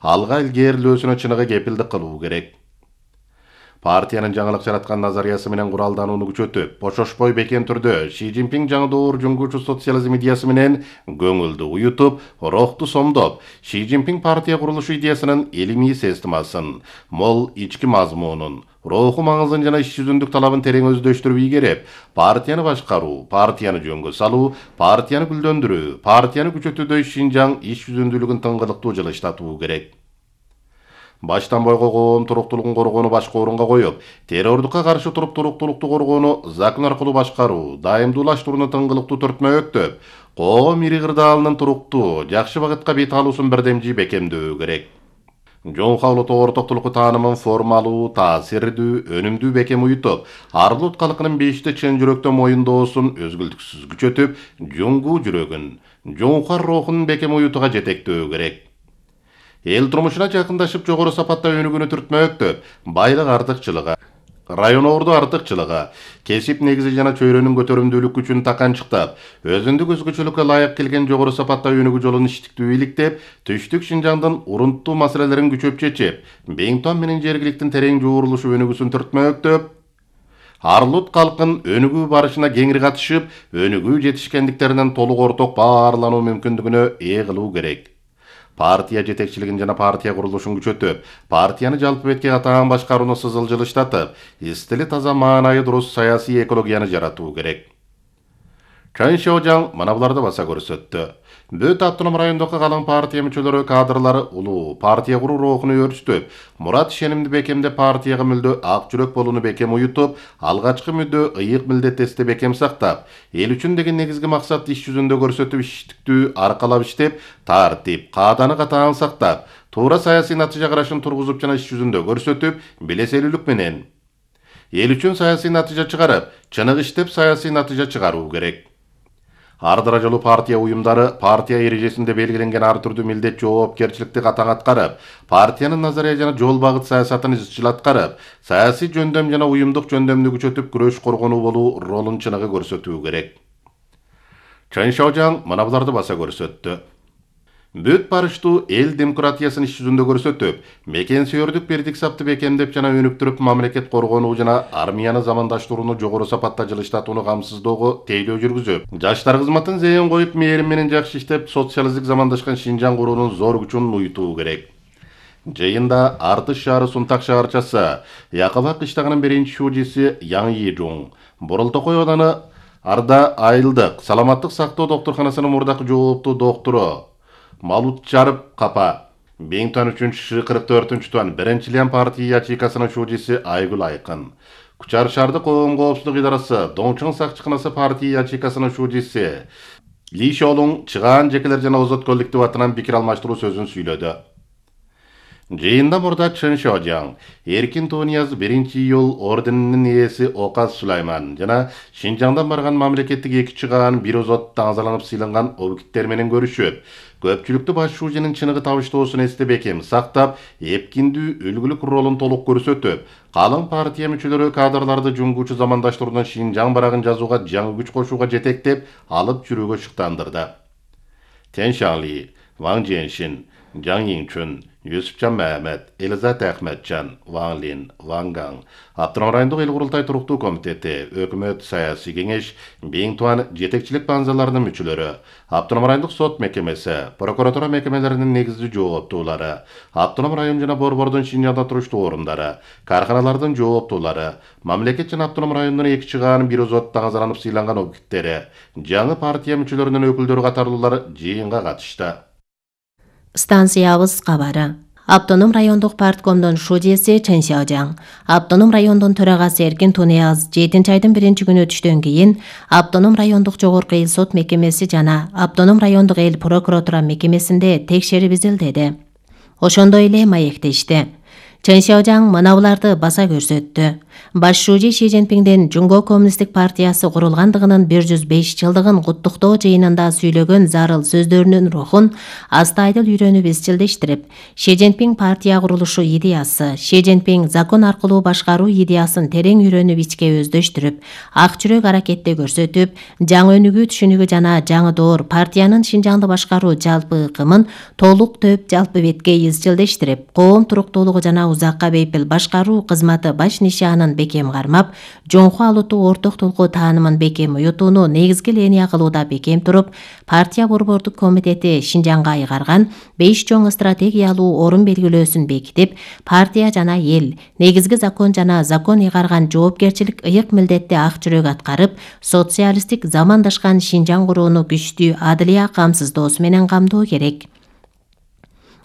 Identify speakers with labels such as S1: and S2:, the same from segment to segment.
S1: алга илгерилөөсүнө чыныгы кепилдик кылуу керек. Партиянын жаңылык жараткан назариясы менен куралданууну күчөтүп, бошошпой бекем түрдө Ши Цзиньпин жаңы доор жуңгуучу социализм идеясы менен көңүлдү уютуп, рухту сомдоп, Ши Цзиньпин партия курулушу идеясынын илимий системасын, мол ички мазмунун, руху маңызын жана иш жүзүндүк талабын терең өздөштүрүп ийгереп, партияны башкаруу, партияны жөнгө салуу, партияны гүлдөндүрүү, партияны күчөтүүдөй Шинжаң иш жүзүндүүлүгүн тыңгылыктуу жылыштатуу керек. Баштан бойго коом туруктуулугун коргоону башкы орунга коюп, террордукка каршы туруп туруктуулукту коргоону закон аркылуу башкаруу, дайымдуулаштырууну тыңгылыктуу төртмө-өктөп, коом ири кырдаалынын туруктуу, жакшы багытка бет алуусун бирдемжий бекемдөө керек. Жоңка улуттук ортоктулукку таанымын формалуу, таасирдүү, өнүмдүү бекем уютуп, Арлут калкынын бешти чын жүрөктөн моюндоосун өзгүлтүксүз күчөтүп, жуңгуу жүрөгүн, жоңка рухун бекем уютууга жетектөө керек. Эл турмушуна жакындашып, жогору сапатта өнүгүүнү түртмөктөп, байлык артыкчылыгы, районорду артыкчылыгы, кесип негизи жана чөйрөнүн көтөрүмдүүлүк күчүн таканчыктап, өзүндүк өзгөчөлүккө ылайык келген жогору сапатта өнүгүү жолун иштиктүү иликтеп, түштүк Шинжаңдын урунттуу маселелерин күчөп чечип, Бейнтон менен жергиликтин терең жуурулушу өнүгүүсүн түртмөктөп, Арлут калкын өнүгүү барышына кеңири катышып, өнүгүү жетишкендиктеринен толук орток баарлануу мүмкүндүгүнө ээ кылуу керек. Партия жетекчилигин жана партия курулушун күчөтүп, партияны жалпы бетке катаан башкарууну сызыл жылыштатып, истили таза маанайы дурус саясий экологияны жаратуу керек. Чан Шаожаң мына буларды баса көрсөттү. Бүт автоном райондогу калың партия мүчөлөрү, кадрлары улуу партия куруу рухуну өрчүтүп, мурат ишенимди бекемдеп, партияга мүлдө ак жүрөк болууну бекем уютуп, алгачкы мүдө ыйык милдеттестикти бекем сактап, эл үчүн деген негизги максатты иш жүзүндө көрсөтүп, иштиктүү аркалап иштеп, тартип, кааданы катаан сактап, туура саясий натыйжа карашын тургузуп жана иш жүзүндө көрсөтүп, белеселүүлүк менен эл үчүн саясий натыйжа чыгарып, чыныгы иштеп саясий натыйжа чыгаруу керек. Ар даражалуу партия уюмдары партия эрежесинде белгиленген ар түрдүү милдет жоопкерчиликти катаң аткарып, партиянын назария жана жол багыт саясатын изчил аткарып, саясий жөндөм жана уюмдук жөндөмдү күчөтүп, күрөш коргонуу болуу ролун чыныгы көрсөтүү керек. Чан Шаожаң мына буларды баса көрсөттү. Бүт барыштуу эл демократиясын иш жүзүндө көрсөтүп, мекен сүйөрдүк бердик сапты бекемдеп жана өнүктүрүп, мамлекет коргонуу жана армияны замандаштырууну жогору сапатта жылыштатууну камсыздоого тейлөө жүргүзүп, жаштар кызматын зээн коюп, мээрим менен жакшы иштеп, социалисттик замандашкан Шинжаң куруунун зор күчүн уютуу керек. Жыйында Артыш шаары Сунтак шаарчасы, Якыба кыштагынын биринчи шуудиси Яң Йижуң, Боролтокой ауданы Арда айылдык саламаттык сактоо доктурканасынын мурдакы жооптуу доктору Малутчарып Капа, Бейнтон 3-44 туан 1-Лиан партия ячейкасынын шуудиси Айгүл Айкын, Кучар шаардык коом коопсуздук идарасы Доңчоң сакчыканасы партия ячейкасынын шуудиси Ли Шолуң чыгаан жекелер жана озот коллектив атынан пикир алмаштыруу сөзүн сүйлөдү. Жыйында мурда Чан Шаожаң, Эркин Тунияз 1-июл орденинин ээси Оказ Сулайман жана Шинжаңдан барган мамлекеттик эки чыгаан бир озот таңзаланып сыйланган объекттер менен көрүшүп, көпчүлүктү баш шууженин чыныгы табыштоосун эсте бекем сактап, эпкиндүү үлгүлүк ролун толук көрсөтүп, калың партия мүчөлөрү кадрларды жуңгуучу замандаштыруудан Шинжаң барагын жазууга жаңы күч кошууга жетектеп, алып жүрүүгө шыктандырды. Тен Шаңли, Ваң Женшин, Жаң Йиңчүн, Юсупчан Мәмәт, Элизат Ахметжан, Ваң Лин, Ваң Гаң, Автоном райондук эл курултай туруктуу комитети, өкмөт саясий кеңеш, Бейнтон жетекчилик банзаларынын мүчөлөрү, Автоном райондук сот мекемеси, прокуратура мекемелеринин негизги жооптуулары, Автоном район жана Борбордун Шинжаңда туруштуу орундары, карканалардын жооптуулары, мамлекет жана Автоном райондун эки чыгаанын бир озот таңзаланып сыйланган объекттери, жаңы партия мүчөлөрүнүн өкүлдөрү катарлуулар жыйынга катышты.
S2: Станциябыз кабары. Автоном райондук парткомдун шуудиси Чан Шаожаң, Автоном райондун төрагасы Эркин Тунияз 7-айдын 1-күнү өтүштөн кийин Автоном райондук жогорку эл сот мекемеси жана Автоном райондук эл прокуратура мекемесинде текшерип изилдеди. Ошондой эле маектешти. Чан Шаожаң мына буларды баса көрсөттү. Баш шужи Ши Цзиньпиңдин Жунго коммунисттик партиясы курулгандыгынын 105 жылдыгын куттуктоо жыйынында сүйлөгөн зарыл сөздөрүнүн рухун астайдыл үйрөнүп изчилдештирип, Ши Цзиньпиң партия курулушу идеясы, Ши Цзиньпиң закон аркылуу башкаруу идеясын терең үйрөнүп ичке өздөштүрүп, ак жүрөк аракетте көрсөтүп, жаңы өнүгүү түшүнүгү жана жаңы доор партиянын Шинжаңды башкаруу жалпы ыкымын толук төп жалпы бетке изчилдештирип, коом туруктуулугу жана узакка бейпил башкаруу кызматы баш нишанын бекем кармап, жоңку алутуу орток толку таанымын бекем уютууну негизги линия кылууда бекем туруп, партия борбордук комитети Шинжаңга айгарган 5 чоң стратегиялуу орун белгилөөсүн бекитип, партия жана эл негизги закон жана закон ыйгарган жоопкерчилик ыйык милдетти ак жүрөк аткарып, социалисттик замандашкан Шинжаң курууну күчтүү адылия камсыздоосу менен камдоо керек.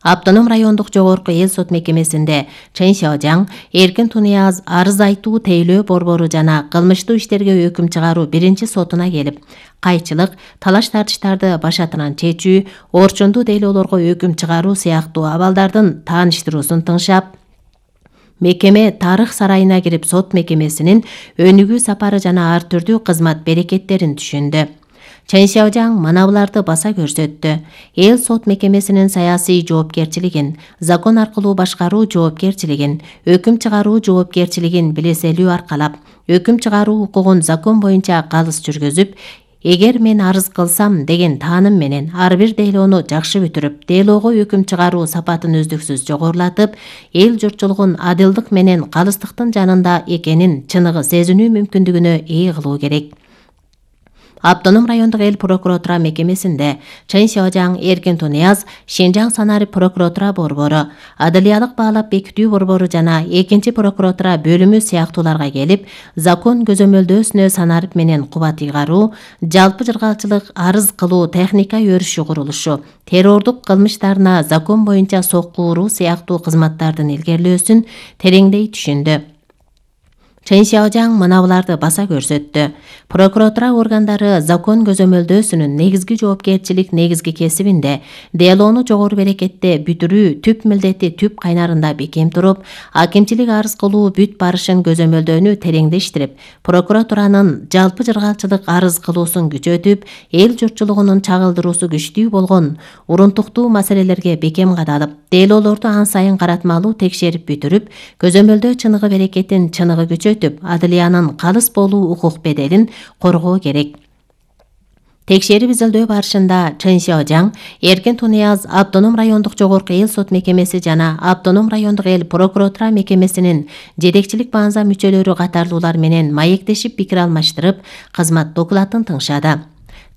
S2: Автоном райондук жогорку эл сот мекемесинде Чен Сяожаң, эркин Тунеяз арыз айтуу тейлөө борбору жана кылмыштуу иштерге өкүм чыгаруу биринчи сотуна келип, кайчылык, талаш-тартыштарды башатынан чечүү, орчундуу дейлоолорго өкүм чыгаруу сыяктуу абалдардын тааныштыруусун тыңшап, мекеме тарых сарайына кирип сот мекемесинин өнүгүү сапары жана ар түрдүү кызмат берекеттерин түшүндү. Чен Сяожаң мына буларды баса көрсөттү. Эл сот мекемесинин саясий жоопкерчилигин, закон аркылуу башкаруу жоопкерчилигин, өкүм чыгаруу жоопкерчилигин билеселүү аркалап, өкүм чыгаруу укугун закон боюнча калыс жүргүзүп, эгер мен арыз кылсам деген тааным менен ар бир дейлоону жакшы бүтүрүп, дейлоого өкүм чыгаруу сапатын үздүксүз жогорулатып, эл журтчулугун адылдык менен калыстыктын жанында экенин чыныгы сезинүү мүмкүндүгүнө ээ кылуу керек. Автоном райондук эл прокуратура мекемесинде Чен Сяожаң, эркин Тунеяз, Шинжаң санарип прокуратура борбору, адылиялык баалап бекитүү борбору жана экинчи прокуратура бөлүмү сыяктууларга келип, закон көзөмөлдөөсүнө санарип менен кубат ыйгаруу, жалпы жыргалчылык арыз кылуу техника өрүшү курулушу, террордук кылмыштарына закон боюнча сокку уруу сыяктуу кызматтардын илгерилөөсүн тереңдей түшүндү. Чен Сяожаң мына буларды баса көрсөттү. Прокуратура органдары закон көзөмөлдөөсүнүн негизги жоопкерчилик негизги кесибинде дейлоону жогору берекетте бүтүрүү түп милдети түп кайнарында бекем туруп, акимчилик арыз кылуу бүт барышын көзөмөлдөөнү тереңдештирип, прокуратуранын жалпы жыргалчылык арыз кылуусун күчөтүп, эл журтчулугунун чагылдыруусу күчтүү болгон урунтуктуу маселелерге бекем кадалып, дейлоолорду ан сайын каратмалуу текшерип бүтүрүп, көзөмөлдөө чыныгы берекетин чыныгы күчөтүп, адылиянын калыс болуу укук беделин коргоо керек. Текшерип изилдөө барышында Чен Сяожаң, эркин Тунеяз автоном райондук жогорку эл сот мекемеси жана автоном райондук эл прокуратура мекемесинин жетекчилик баанза мүчөлөрү катарлуулар менен маектешип пикир алмаштырып, кызмат докладын тыңшады.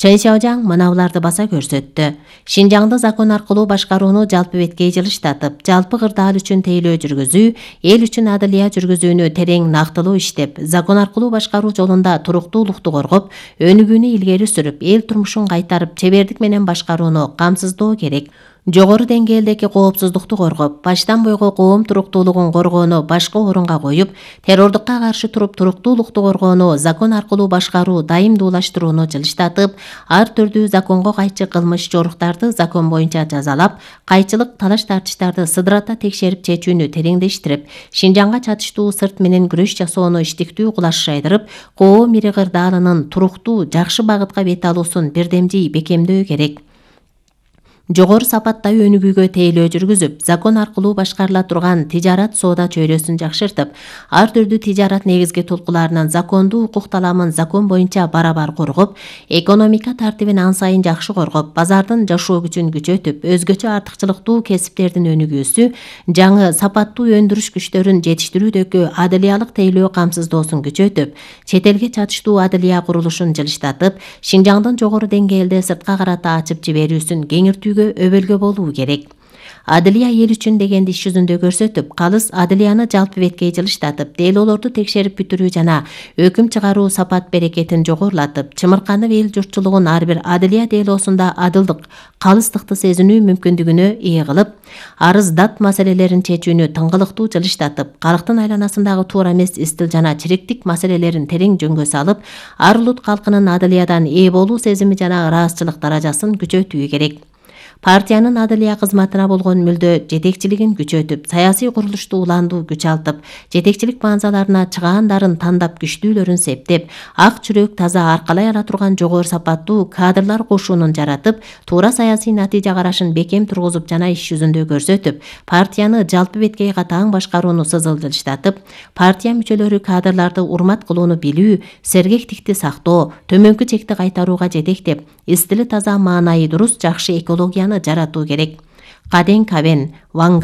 S2: Чен Сяожаң мына буларды баса көрсөттү. Шинжаңды закон аркылуу башкарууну жалпы бетке жылыштатып, жалпы кырдаал үчүн тейлөө жүргүзүү, эл үчүн адылия жүргүзүүнү терең нактылуу иштеп, закон аркылуу башкаруу жолунда туруктуулукту коргоп, өнүгүүнү илгери сүрүп, эл турмушун кайтарып, чебердик менен башкарууну камсыздоо керек. Жогору деңгээлдеги коопсуздукту коргоп, баштан бойго коом туруктуулугун коргоону башкы орунга коюп, террордукка каршы туруп туруктуулукту коргоону закон аркылуу башкаруу дайымдуулаштырууну жылыштатып, ар түрдүү законго кайчы кылмыш жоруктарды закон боюнча жазалап, кайчылык талаш-тартыштарды сыдырата текшерип чечүүнү тереңдештирип, Шинжаңга чатыштуу сырт менен күрөш жасоону иштиктүү кулаш жайдырып, коом ири кырдаалынын туруктуу, жакшы багытка бет алуусун бирдемдей бекемдөө керек. Жогору сапаттагы өнүгүүгө тейлөө жүргүзүп, закон аркылуу башкарыла турган тижарат соода чөйрөсүн жакшыртып, ар түрдүү тижарат негизги толкуларынын закондуу укук таламын закон боюнча барабар коргоп, экономика тартибин ан сайын жакшы коргоп, базардын жашоо күчүн күчөтүп, өзгөчө артыкчылыктуу кесиптердин өнүгүүсү, жаңы сапаттуу өндүрүш күчтөрүн жетиштирүүдөгү адылиялык тейлөө камсыздоосун күчөтүп, чет элге чатыштуу адылия курулушун жылыштатып, Шинжаңдын жогору деңгээлде сыртка карата ачып жиберүүсүн кеңиртүүгө өбөлгө болуу керек. Адылия эл үчүн дегенди иш жүзүндө көрсөтүп, калыс адылияны жалпы бетке жылыштатып, дейлоолорду текшерип бүтүрүү жана өкүм чыгаруу сапат берекетин жогорулатып, чымырканып эл журтчулугун ар бир адылия дейлоосунда адылдык, калыстыкты сезинүү мүмкүндүгүнө ээ кылып, арыз дат маселелерин чечүүнү тыңгылыктуу жылыштатып, калктын айланасындагы туура эмес истил жана чириктик маселелерин терең жөнгө салып, ар улут калкынын адылиядан ээ болуу сезими жана ыраазычылык даражасын күчөтүү керек. Партиянын адылия кызматына болгон мүлдө жетекчилигин күчөтүп, саясий курулушту уландуу күч алтып, жетекчилик баанзаларына чыгаандарын тандап күчтүүлөрүн септеп, ак жүрөк таза аркалай ала турган жогору сапаттуу кадрлар кошунун жаратып, туура саясий натыйжа карашын бекем тургузуп жана иш жүзүндө көрсөтүп, партияны жалпы беткей катаң башкарууну сызылдырыштатып, партия мүчөлөрү кадрларды урмат кылууну билүү, сергектикти сактоо, төмөнкү чекти кайтарууга жетектеп, стили таза, маанайы дурус, жакшы экологияны жаратуу керек. Каден Кабен, Вангаң.